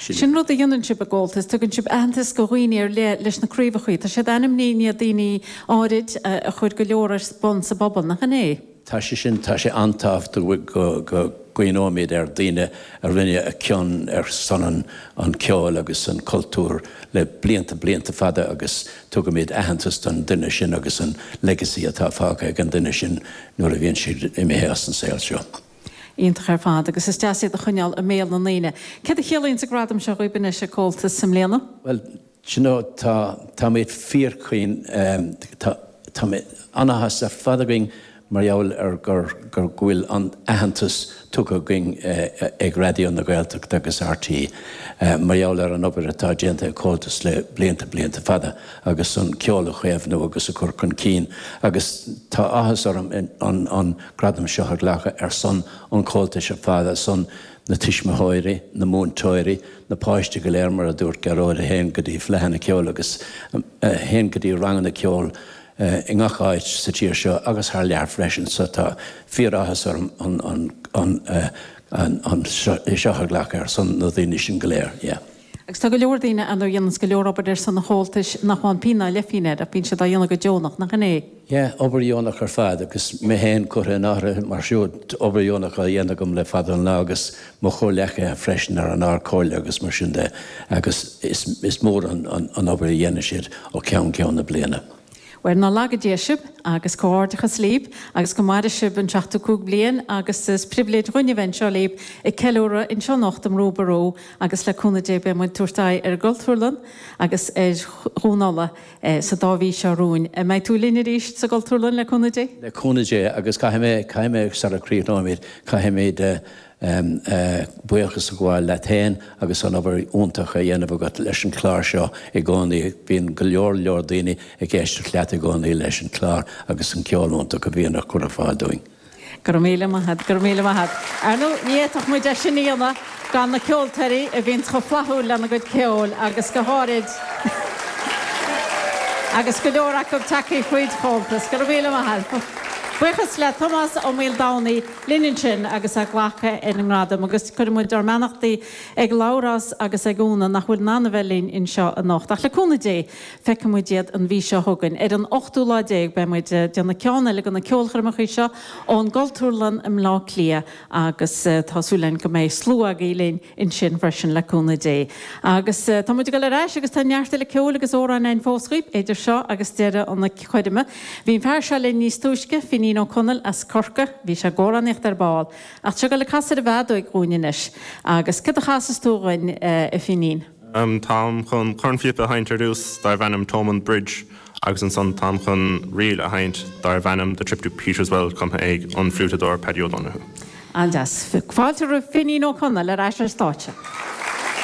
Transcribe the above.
Sin rud a dhéanann sibh i gComhaltas, tugann sibh aitheantas go dhaoine ar leith leis na craobhachaí. Tá siad ainmnithe i ndiaidh daoine áirid a chuir go leor ar bun sa bpobal, nach in é? Tá sé sin, tá sé an-tábhachtach go gcuimhneoimid ar daoine a rinne a cion ar son an ceoil agus an cultúr le blianta, blianta fada agus tugaimid aitheantas don duine sin agus an legacy atá fágtha ag an duine sin nuair a bhíonn siad imithe as an saol seo. Iontach ar fad agus is deas iad a choinneáil i mbéal na ndaoine. Céard a chiallaíonns an gradam seo dhaoib anois ag Comhaltas i mbliana? Bhuel, do you know, tá, táimid fíorchaoin, tá, tá an-áthas ar fad againn mar gheall ar gur, gur, go bhfuil an aitheantas tugtha againn ag Raidió na Gaeltachta agus RTÉ mar gheall ar an obair atá déanta ag Comhaltas le blianta, blianta fada agus an ceol a chaomhnú agus a chur chun cinn agus tá áthas orm an, an gradam seo a ghlacadh ar son an Chomhaltais ar fad, ar son na tuismitheoirí, na múinteoirí, na páistí go léir, mar a dúirt Gearóid, a théann go dtí fleadhanna ceoil agus a théann go dtí ranganna ceoil i ngach áit sa tír seo agus thar lear freisin. So tá fíoráthas orm an, an, an, an, an, é seo a ghlacadh ar son na daoine sin go léir. Yeah. Agus tá go leor daoine ann a dhéananns go leor obair ar son an Chomhaltais nach bhfaigheann pingin ná leithphingin air ach bíonn siad á dhéanamh go deonach, nach in é? Yeah, obair dheonach ar fad agus mé féin curtha in áirithe mar siúd, obair dheonach á dhéanamh agam le fada an lá agus mo chomhleacaithe freisin ar an Ardchomhairle agus mar sin de agus is mór an obair a dhéanann siad ó cheann ceann na bliana. Bhuel, ná laga Dia sibh agus comhghairdeachas libh agus go maire sibh an 75 bliain agus is pribhléid dhuinn a bheith anseo libh ag ceiliúradh anseo anocht i mBrú Ború agus le cúnamh Dé beidh muid ag tabhairt aghaidh ar an gCultúrlann agus ar Dhún Uladh sa dá mhí seo romhainn. An mbeidh tú linn arís sa gCultúrlann le cúnamh Dé? Le cúnamh Dé agus caithfidh mé, caithfidh mé sara críochnóimid, caithfimid buíochas a ghabháil leat féin agus an obair iontach á dhéanamh agat leis an chlár seo i gcónaí. Bíonn go leor leor daoine ag éisteacht leat i gcónaí leis an chlár agus an ceol iontach a bhíonn á chur ar fáil dúinn. Go raibh míle maith agat, go raibh míle maith agat. Ar ndóigh, ní fhéadfadh muid é sin a dhéanamh gan na ceoltóirí a bhíonns chomh flaithiúil lena gcuid ceoil agus go háirid agus go leor acu tagtha fríd Chomhaltas. Go raibh míle maith agat. Buíochas le Tomás Ó Maoldomhnaigh linn ansin agus é ag glacadh ar an ngradam agus cuireann muid ár mbeannachtaí ag Labhrás agus ag Úna nach bhfuil in ann a bheith linn anseo anocht. Ach le cúnamh Dé, feicfidh muid iad an mhí seo chugainn. Ar an ochtú lá déag beidh muid ag déanamh ceann eile de na ceolchoirmeacha seo ón gCultúrlann i mBleá Cliath agus tá súil againn go mbeidh slua agaibh linn ansin freisin le cúnamh Dé. Agus tá muid ag dul ar ais agus tá neart eile ceoil agus amhráin againn fós dhaoibh idir seo agus deireadh an choirme. Bhí an fear seo linn níos túisce, Finín Ó Conaill as Corcaigh. Bhí sé ag amhránaíocht ar ball. Ach tá sé ag dul ag casadh ar an bhfeadóig dhúinn anois. Agus céard a chasfas tú dhuinn, a Finín? Táim chun cornphíopa a sheinnt ar dtús darbh ainm Thomond Bridge agus ansan táim chun ríl a sheinnt darbh ainm The Trip to Peterswell cumtha ag an fliúiteadóir Paddy O'Donoghue. An-deas. Fáilte roimh Finín Ó Conaill ar ais ar stáitse.